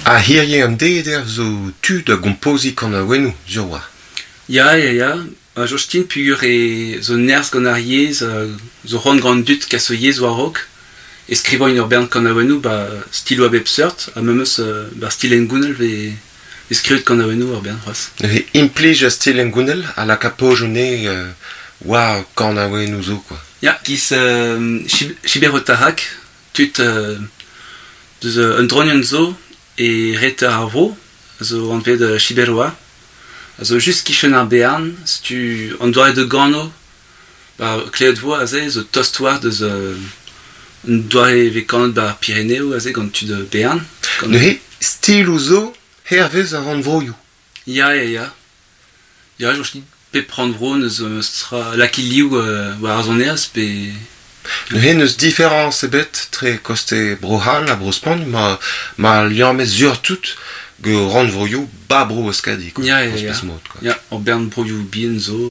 Ha hirie an deiz zo tu da gompoziñ kanaouennoù, sur 'oa. Ya, ya, ya. Ha Jostin peogwir e zo nerzh gant ar yezh, zo c'hoant gant an dud kas o yezh war-raok, e skrivañ ur bern kanaouennoù 'ba stiloù a bep seurt ha memes 'ba stil hengounel 'vez vez skrivet kanaouennoù ur bern c'hoazh. Neuze implij ar stil hengounel a laka pozioù anezhe war kanaouennoù zo quoi. Ya, giz Chiberotarak, tud deus un dronienn zo e reter ar vro, a zo anvet Chiberoa, a zo just kichen ar Bearn, setu an doare da gano, ba klevet 'vo aze, zo tost war deus un doare e vez kanet 'ba ar Pireneoù aze gant tud Bearn. Neuze stiloù zo hervez ar rannvroioù. Ya, ya, ya. Ya, soñj din pep rannvro n'eus tra lakaet liv war ar sonerezh pe... Neuze n'eus diferañs ebet tre koste Bro-C'hall ha Bro-Spagn ma ma liammet surtout gant rannvroioù 'ba Bro-Euskadi quoi. Ya, ya, ya. Ya, ur bern broioù bihan zo.